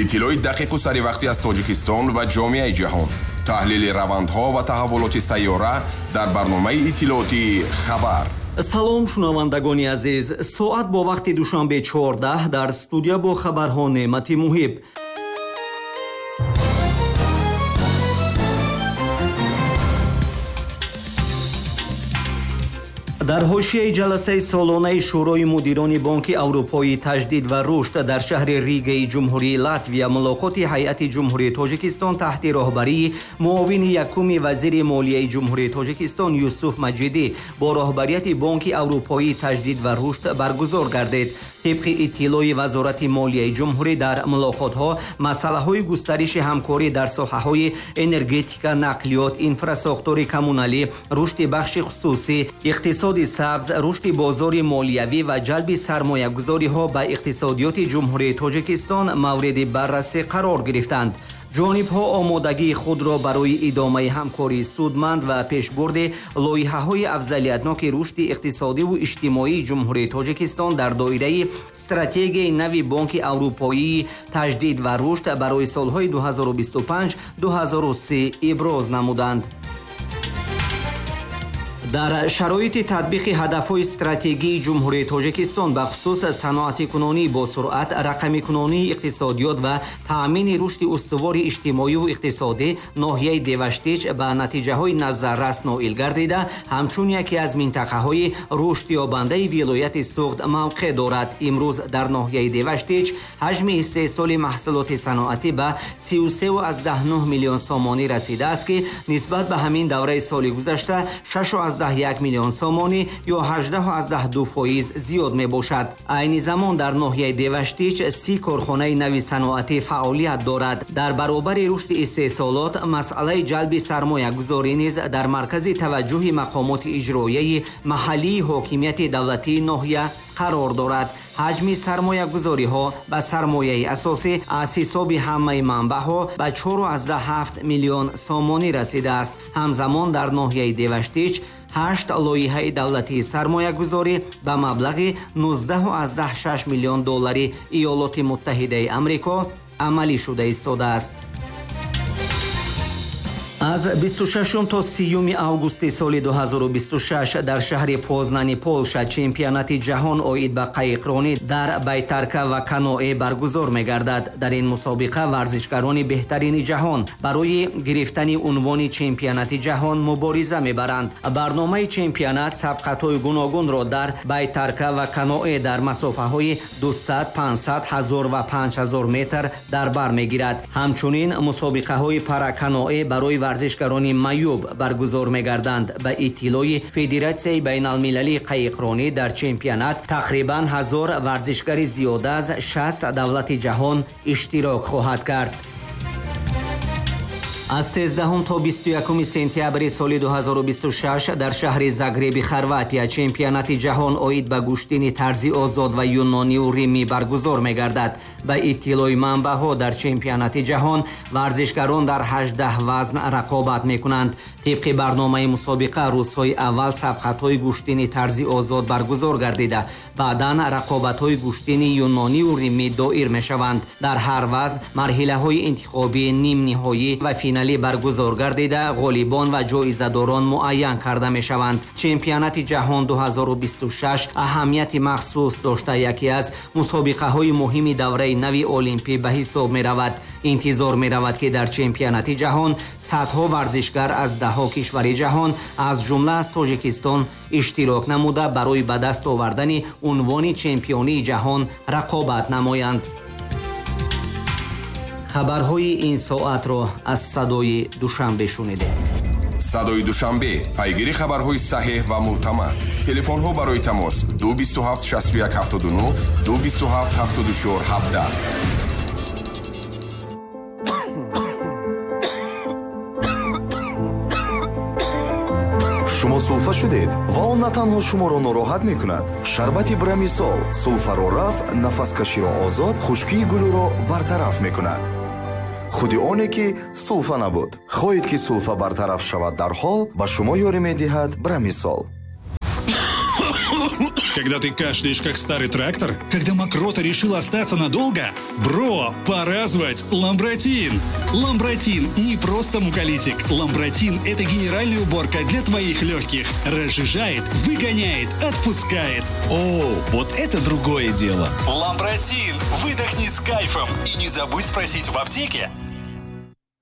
Иттилои дақиқу саривақтӣ аз Тоҷикистон ва ҷомеаи ҷаҳон. Таҳлили равандҳо ва таҳаввулоти сайёра дар барномаи иттилоотии «Хабар». Салом, шунавандагони азиз. Соат бо вақти Душанбе 14, дар студия бо хабарҳо Неъмати Муҳиб. Дар ҳошияи ҷаласаи солонаи Шӯрои мудирони Бонки Аврупои таҷдид ва рушд дар шаҳри Ригаи Ҷумҳурии Латвия мулоқоти ҳайати Ҷумҳурии Тоҷикистон таҳти роҳбарии муовини якуми вазири молияи Ҷумҳурии Тоҷикистон Юсуф Маҷидӣ бо роҳбарияти Бонки Аврупоии таҷдид ва рушд баргузор гардид. Тибқи иттилои Вазорати молияи ҷумҳурӣ, дар мулоқотҳо масъалаҳои густариши ҳамкорӣ дар соҳаҳои энергетика, нақлиёт, инфрасохтори коммуналӣ, рушди бахши хусусӣ, иқтисоди сабз, рушди бозори молиявӣ ва ҷалби сармоягузориҳо ба иқтисодиёти Ҷумҳурии Тоҷикистон мавриди баррасӣ қарор гирифтанд. Ҷонибҳо омодагии худро барои идомаи ҳамкории судманд ва пешбурди лоиҳаҳои афзалиятноки рушди иқтисодиву иҷтимоии Ҷумҳурии Тоҷикистон дар доираи стратегияи нави Бонки Аврупоии таҷдид ва рушд барои солҳои 2025-2030 иброз намуданд. Дар шароити татбиқи ҳадафҳои стратегии Ҷумҳурии Тоҷикистон, бахусус саноатикунонӣ бо суръат, рақамикунонии иқтисодиёт ва таъмини рушди устувори иҷтимоиву иқтисодӣ, ноҳияи Деваштич ба натиҷаҳои назаррас ноил гардида, ҳамчун яке аз минтақаҳои рушдёбандаи вилояти Суғд мавқеъ дорад. Имрӯз дар ноҳияи Деваштич ҳаҷми истеҳсоли маҳсулоти саноатӣ ба 33,9 миллион сомонӣ расидааст, ки нисбат ба ҳамин давраи соли гузашта 6,1 миллион сомонӣ ё 18,2% зиёд мебошад. Айни замон дар ноҳияи Деваштич 30 корхонаи нави саноатӣ фаъолият дорад. Дар баробари рушди истеҳсолот, масъалаи ҷалби сармоягузорӣ низ дар маркази таваҷҷӯҳи мақомоти иҷроияи маҳаллии ҳокимияти давлатии ноҳия қарор дорад. Ҳаҷми сармоягузориҳо ба сармояи асосӣ аз ҳисоби ҳамаи манбаъҳо ба 4,7 миллион сомонӣ расидааст. Ҳамзамон дар ноҳияи Деваштич 8 лоиҳаи давлатии сармоягузорӣ ба маблағи 19,6 миллион доллари Иёлоти Муттаҳидаи Амрико амалӣ шуда истодааст. Аз 26 то 30 августи соли 2026 дар шаҳри Познани Полша чемпионати ҷаҳон оид ба қайиқронӣ дар байтарка ва каноэ баргузор мегардад. Дар ин мусобиқа варзишгарони беҳтарини ҷаҳон барои гирифтани унвони чемпионати ҷаҳон мубориза мебаранд. Барномаи чемпионат сабқатҳои гуногунро дар байтарка ва каноэ дар масофаҳои 200, 500, 1000 ва 5000 метр дар бар мегирад. Ҳамчунин мусобиқаҳои параканоэ барои варзишгарони маъюб баргузор мегарданд. Ба иттилои Федератсияи байналмилалии қайиқронӣ, дар чемпионат тақрибан 1000 варзишгари зиёда аз 60 давлати ҷаҳон иштирок хоҳад кард. Аз 13 то 21 сентябри соли 2026 дар шаҳри Загреби Хорватия чемпионати ҷаҳон оид ба гӯштини тарзи озод ва юнониву римӣ баргузор мегардад. Ба иттилои манбаъҳо, дар чемпионати ҷаҳон варзишгарон дар 18 вазн рақобат мекунанд. Тибқи барномаи мусобиқа, рӯзҳои аввал сабқатҳои гӯштини тарзи озод баргузор гардида, баъдан рақобатҳои гӯштини юнониву римӣ доир мешаванд. Дар ҳар вазн марҳилаҳои интихобӣ, нимниҳоӣ ва финалӣ баргузор гардида, ғолибон ва ҷоизадорон муайян карда мешаванд. Чемпионати ҷаҳон 2026 аҳамияти махсус дошта, яке аз мусобиқаҳои муҳими давраи нави олимпӣ ба ҳисоб меравад. Интизор меравад, ки дар чемпионати ҷаҳон садҳо варзишгар аз даҳҳо кишвари ҷаҳон, аз ҷумла аз Тоҷикистон, иштирок намуда, барои ба даст овардани унвони чемпионии ҷаҳон рақобат намоянд. Хабарҳои ин соатро аз Садои Душанбе шунидем. Садои Душанбе, пайгири хабарҳои саҳеҳ ва мӯътамад. Телефонҳо барои тамос 227 61 79, 227 74 17. Шумо сулфа шудед ва он на танҳо шуморо нороҳат мекунад. Шарбати Брамисол сулфаро рафъ, нафаскаширо озод, хушкии гулӯро бартараф мекунад. Худи оне ки сулфа набуд. Хоҳед ки сулфа бартараф шавад дарҳол, ба шумо ёрӣ медиҳад Брамисол. Когда ты кашляешь, как старый трактор? Когда мокрота решила остаться надолго? Бро, пора звать Ламбратин! Ламбратин не просто муколитик. Ламбратин – это генеральная уборка для твоих легких. Разжижает, выгоняет, отпускает. О, вот это другое дело. Ламбратин! Выдохни с кайфом. И не забудь спросить в аптеке.